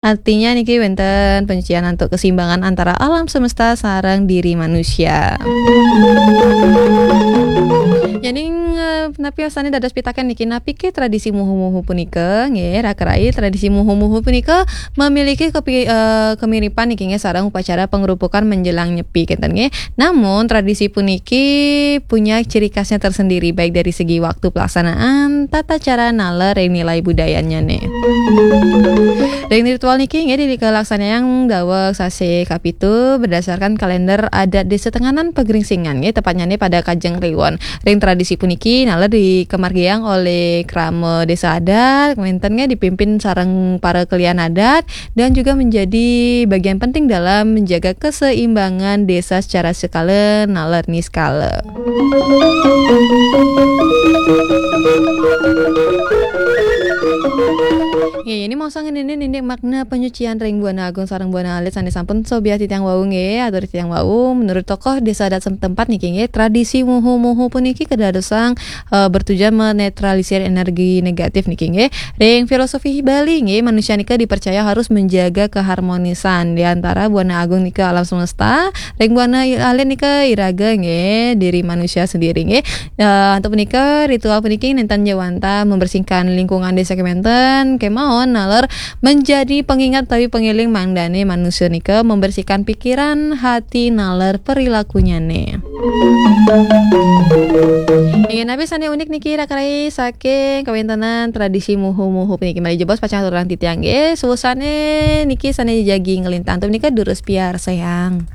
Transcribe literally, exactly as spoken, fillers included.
Artinya niki wénten penyucian antuk keseimbangan antara alam semesta sareng diri manusia. Yéning, eh, napi sané dados pitaken niki, napiké tradisi muhu-muhu punika? Nggih, Raka Rai, tradisi muhu-muhu punika memiliki kepi-, eh, kemiripan niki nggih sareng upacara pengrupukan menjelang nyepi kinten nggih. Namun tradisi puniki punya ciri khasnya tersendiri baik dari segi waktu pelaksanaan, tata cara naler ring nilai budayanya nih. Ring ritual niki nggih dikalaksanayang daweg sasih kapitu berdasarkan kalender adat Desa Tenganan Pegringsingan nggih, tepatnya nih pada Kajeng Kliwon. Ring tradisi puniki naler dikemargiang olih krama desa adat, wénten nggih dipimpin sareng para kelian adat dan juga menjadi bagian penting dalam menjaga keseimbangan desa secara skala naler niskala. Nggih, ini mongso ngeninin indik makna penyucian ring Buana Agung sareng Buana Alit sané sampun sobiah titiang wau nggih, atur titiang wau. Menurut tokoh desa adat setempat niki nggih, tradisi muhu-muhu puniki kadadosang, eh, bertujuan menetralisir energi negatif niki nggih. Ring filosofi Bali nggih, manusia nika dipercaya harus menjaga keharmonisan di antara Buana Agung nika alam semesta, ring Buana Alit nika iraga nggih, diri manusia sendiri nggih. Eh, antuk punika, ritual puniki nénten jawanta membersihkan lingkungan desa kemanten, kemawon naler menjadi pengingat utawi pengeling mangdané manusia nika membersihkan pikiran, hati, naler perilakunya nih. Inggih napi sané unik niki Raka Rai saking kawéntenan tradisi muhu-muhu puniki? Malih jebos pacang aturang titiang nggih, suwusané niki sané jagi nglintang antuk punika durus piarsayang.